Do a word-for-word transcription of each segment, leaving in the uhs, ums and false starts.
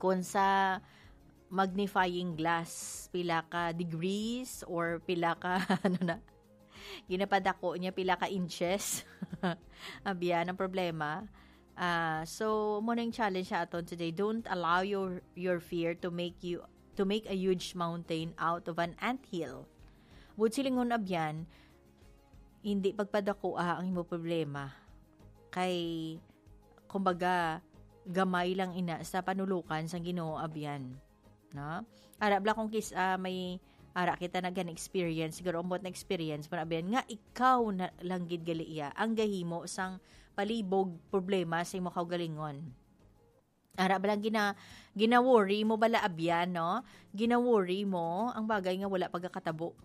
Kung sa magnifying glass, pila ka degrees or pila ka, ano na, ginapadako niya, pila ka inches. Abyan ang problema. Ah, so, mo na yung challenge sa aton today. Don't allow your, your fear to make you, to make a huge mountain out of an anthill. Buot silingon, abyan, hindi pagpadakoa ang imo problema. Kay, kumbaga, gamay lang ina sa panulukan sang Ginoo, abyan. No? Ara bala kung kis-, ah, may, ara kita naghan experience, siguro ambot na experience mo na, abyan, nga ikaw na lang gid gali iya ang gahimo sang palibog problema sa imo kaugalingon. Ara bala gina-, gina-worry mo bala, abyan, no? Gina-worry mo ang bagay nga wala pagakatabo.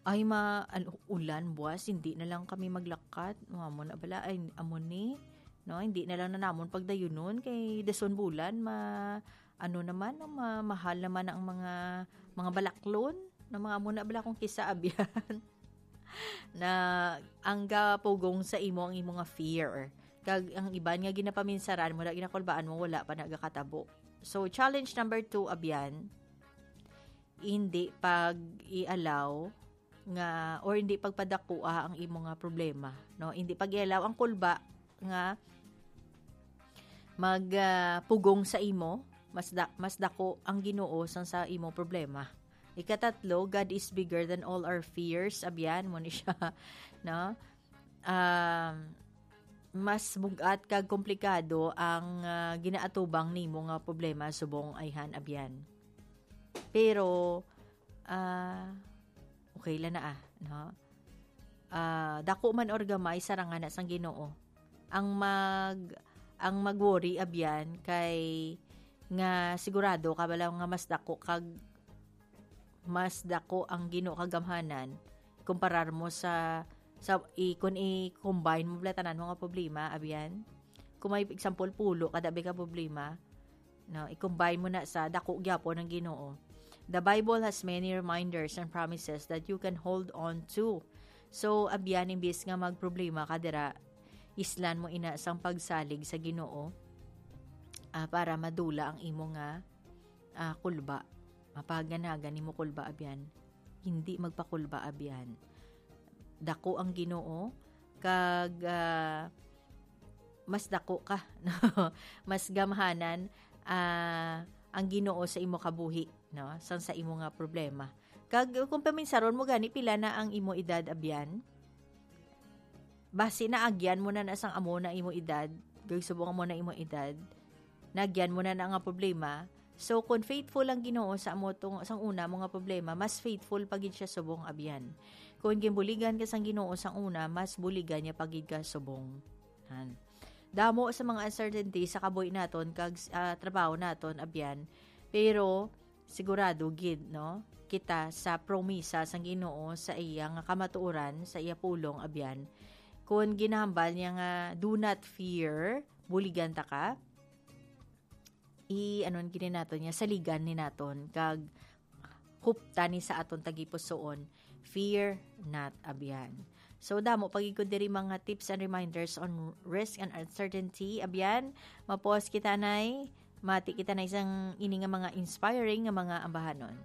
Ay, ma-, ano, ulan, buwas, hindi na lang kami maglakat. Amo na bala, ay, amo ni, no? Hindi na lang na namon pagdayunon kay dason bulan, ma-, ano naman, no? Ma-, mahal naman ang mga, mga balaklon. Na mga amo na bala kung kisa, abyan. Na ang gapugong sa imo ang imo nga fear. Kag ang iban nga ginapaminsaran mo, na ginakulbaan mo, wala pa nagakatabo. So, challenge number two, abyan, hindi pag-i-allow nga, or hindi pagpadakua ang imo nga problema, no? Hindi pag-i-allow ang kulba nga mag, ah, pugong sa imo, mas da-, mas dako ang Ginoo sang sa imo problema. Ikatatlo, God is bigger than all our fears. Abyan mo ni siya, no? Um, mas bugat kag komplikado ang, ah, ginaatubang nimo nga problema subong ayhan, abyan. Pero, ah, okay lang na, ah, no? Ah, dako man or gamay, sarangan na sang Ginoo. Ang mag-, ang mag-worry, abyan, kay nga sigurado ka bala nga mas dako kag mas dako ang Ginoo kagamhanan, kumparar mo sa, sa, i-, kung i-combine mo bala tanan mga problema, abyan. Kung may example, pulo kada bi ka problema, no, i-combine mo na sa dako gyapon ang Ginoo. The Bible has many reminders and promises that you can hold on to. So, abyan, imbis nga magproblema ka dira, islan mo ina sang pagsalig sa Ginoo, ah, para madula ang imo nga, ah, kulba. Mapaganagan nimo kulba, abyan. Hindi magpakulba, abyan. Dako ang Ginoo, kag, ah, mas dako ka, no? Mas gamhanan, ah, ang Ginoo sa imo kabuhi, no? Sang sa imo nga problema. Kag kung paminsaron mo gani, pila na ang imo edad, abyan? Basi naagyan mo na na sang amo na imo edad, kag subong amo na imo edad, naagyan mo na na nga problema. So, kung faithful ang Ginoo sa amo tong, sang una mo nga problema, mas faithful pa gid siya subong, abyan. Kung ginbuligan ka sang Ginoo sang una, mas buligan niya pa gid ka subong. Han. Damo sa mga uncertainty sa kabuhi naton kag, ah, trabaho naton, abyan. Pero, sigurado gid, no, kita sa promisa sang Ginoo sa iya nga kamatuoran, sa iya pulong, abyan. Kon ginahambal niya nga, "Do not fear," buligan ta ka, i-, ano gid ni naton niya, saligan ni naton, kag huptan ni sa aton tagipusoon, "Fear not," abyan. So, damo pa gid ko diri mga tips and reminders on risk and uncertainty, abyan. Mapos kita, nay. Mati kita na isang ini nga mga inspiring nga mga ambahanon.